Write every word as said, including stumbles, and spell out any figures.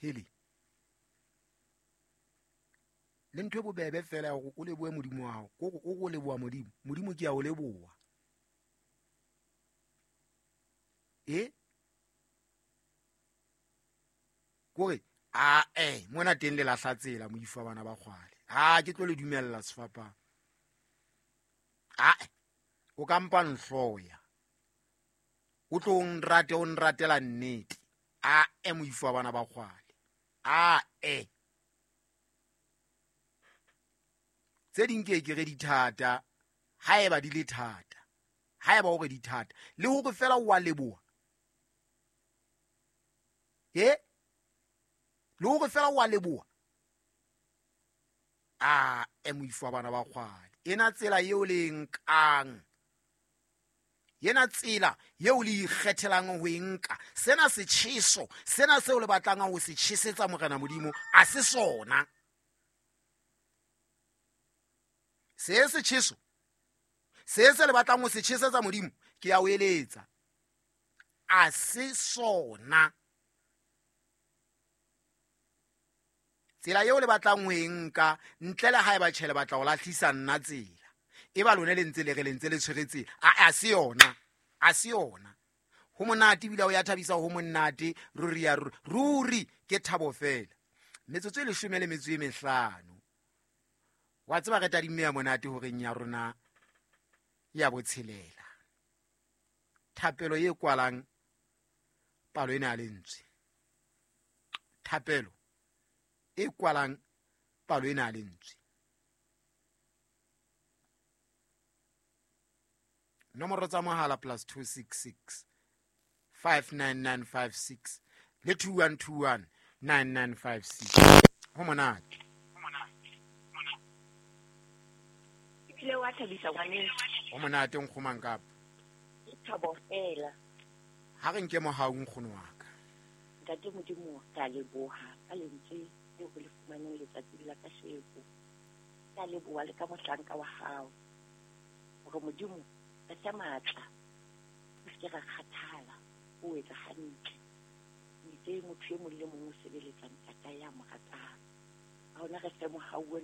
Hele le ntho e bobebe fela ya hore o lebohe Modimo wa hao, kore o re o leboha Modimo, Modimo ke a o leboha. E kore a e mona teng le lahla tsela moifo wa bana ba kgwale. Ha ke tlo le dumella sefapano. A o ka mpa nhloya, o tlo o nrate, o nratela nnete. A e moifo wa bana ba kgwale. A e tse ding ke ke re di thata, haeba di le thata, haeba o re di thata, le hore fela o a leboha. E le hore fela o a leboha. A e moifo wa bana ba kgwale. Ena tsela eo le e nkang, ena tsela eo le ikgethelang ho e nka, sena setjheso, sena seo le batlang ho se tjhesetsa Morena Modimo, a se sona. Se setjheso, se se le batlang ho se tjhesetsa Modimo, ke a o eletsa, a se sona. Tsela eo le batlang ho e nka, ntle le haeba tjhe le batla ho lahlisa nna tsela, e ba lone le ntse le re le ntse le tshwere tsela, a, a se yona, a se yona. Ho monate ebile ho ya thabisa, ho monate ruri ya ruri, ruri ke thabo fela. Metsotso e leshome le metso e mehlano. Wa tseba re tadimme ya monate horeng ya rona ya botshelela. Thapelo e kwalang palo ena ya lentswe. Thapelo e kwalang palo ena ya lentswe. Nomoro tsa mohala plus two six six five nine nine five six le two one two one nine nine five six. Ho monate. Ebile wa thabisa ngwaneso. Ho monate nkgomang kapa. Ke thabo fela. Ha re nke mohau nkgono wa ka. Ntate Modimo, ka leboha ka lentswe leo re le fumaneng letsatsi la kasheko. Ka leboha le ka mohlanka wa hao. Hore Modimo re fe matla, re se ke ra kgathala ho etsa hantle. O itse motho e mong le mong o sebeletsa ntata ya mo ratang. Ha hona re fe mohau